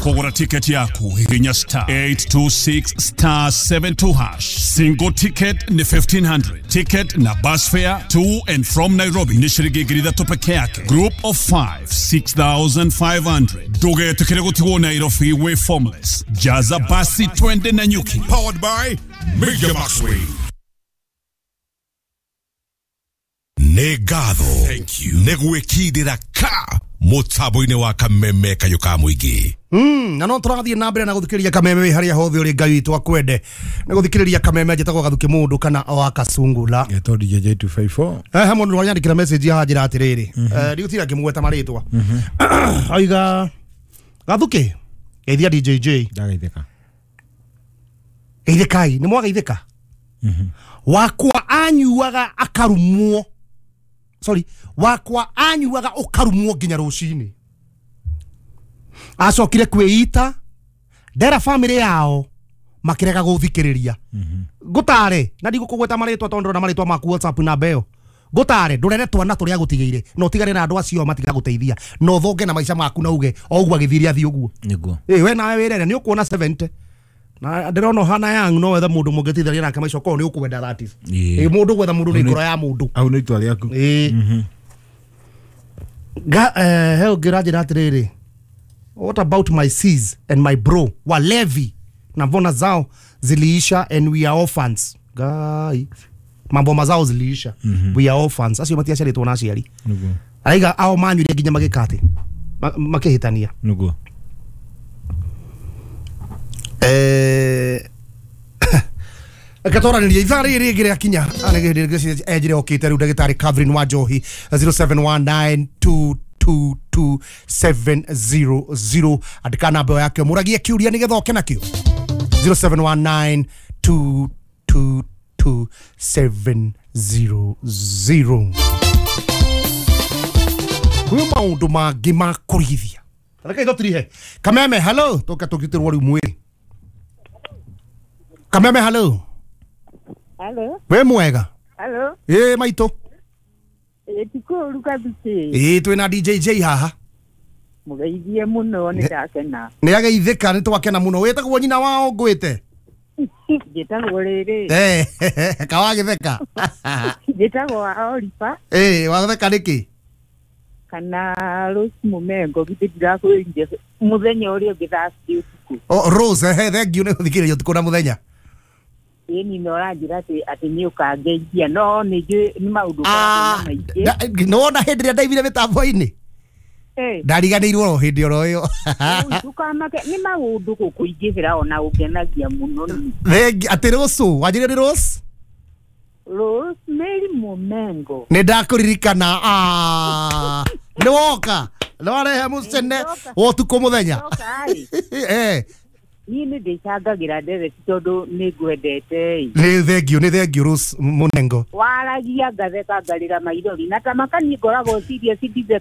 Kũgũra tiketi yaku hihinya star 826 star 72 hash. Single ticket ni 1500. Ticket na bus fare to and from Nairobi ni shiringi 3,000 peke yake. Group of 5 6500. Ndũgetĩkĩre gũtigwo Nairobi wĩ formless. Jaza basi twende na nyuki. Powered by Media Maxway. Nĩ ngatho nĩ gwĩkindĩra ka mũtambo-inĩ wa kameme kayũ ka mũingĩ. Na no tũrathiĩ na mbere na gũthikĩrĩria kameme wĩ harĩa hothe ũrĩ Ngai witũ akwende nĩ gũthikĩrĩria kameme njĩtagwo Gathuki mũndũ kana wa Kasungula. Getwo DJ 254. He mũndũ wanyandĩkĩra message haha njĩra atĩrĩrĩ, ndigũtira ngĩmũgweta marĩtwa, aiga Gathuki geithia DJJ. Ndagaithĩka. Geithĩkai nĩ mwageithĩka. Wakwa anyuaga akarumwo, sorry, wakwa anyuaga ũkarumwo nginya rũcinĩ. Acokire kwĩita ndera family yao makĩrega gũthikĩrĩria. Ngũtare na ndigũkũgweta marĩtwa tondũ ndĩrona marĩtwa maku WhatsApp namba ĩyo. Ngũtare ndũrere twana tũrĩa gũtigĩire na ũtigane na andũ acio matigagũteithia na ũthonge na maica maku na uge o ũguo agĩthire athiĩ ũguo. Nĩguo. Ĩ we nawe wĩrere nĩ ũkuona 70 na ndĩrona ũhana young no wethe mũndũ mũngĩteithania nake maica okorwo nĩ ũkwenda that is. Ĩĩ. Ĩ mũndũ gwetha mũndũ nĩ ngoro ya mũndũ. Au nĩ itua rĩaku. Ĩĩ. Ga he ũngĩ ũranjĩra atĩrĩrĩ, what about my sis and my bro walevi na mbona zao ziliisha and we are orphans. Gai mambo mazao ziliisha. We are orphans. Acio matiaciarĩtwo na aciari. Nĩguo. Araiga ao manyuire nginya magĩka atĩ makĩhĩtania. Nĩguo. Reke twaranĩrie ithaa rĩrĩ rĩngĩ rĩakinya enjire okĩte rĩu ndagĩtarĩ Catherine wa Njohi 0719222700 andĩka namba ĩyo yake mũragie kĩũria nĩgetha oke nakĩo 0719222700. Kwĩ maũndũ mangĩ ma kũrigithia. Reke itũtirihe kameme hello tũke tũgitĩrwo rĩu mwĩrĩ. Kameme hello. Hello. Wĩ mwega? Hello. Ĩ maitũ. Ĩ ti kũũru Gathuki. Ĩ twĩna DJJ haha. Mũgeithie mũno nĩ ndakena. Nĩ ageithĩka nĩ twakena mũno. Wĩtagwo nyina wao ngwĩte? Njĩtagwo rĩrĩ. Kawagĩtheka. Njĩtagwo wa Oliver. Ĩ watheka nĩkĩ? Kana Rose Mũmengo githĩ ndirakwĩrire mũthenya ũrĩa ũngĩ thaa cigĩrĩ ũtukũ. Oh, Rose, he thank you nĩ gũthikĩrĩria ũtukũ na mũthenya. Ĩni no ũranjĩra atĩ nĩ ũkangeithia no nĩ njũĩ nĩ maũndũ maingĩ. Nĩwona hĩndĩ ĩrĩa ndaimire mĩtambo-inĩ? Ndariganĩirwo o hĩndĩ oro ĩyo. Ndũkamake nĩ maũndũ gũkũingĩhĩra ona ũngenagia mũno. Thank you. Atĩ Rose, wanjĩrire nĩ Rose? Rosemary Mũmengo. Nĩ ndakũririkana. Nĩ woka. Nĩ warehe mũcene wa ũtukũ mũthenya. Niĩ nĩ ndĩcangagĩra ndereti tondũ nĩ ngwendete. Nĩ thank you, nĩ thank you Rose Mũnengo. Waragia ngatheka ngarĩra maithori na ta makaniĩ ngoragwo serious ndithe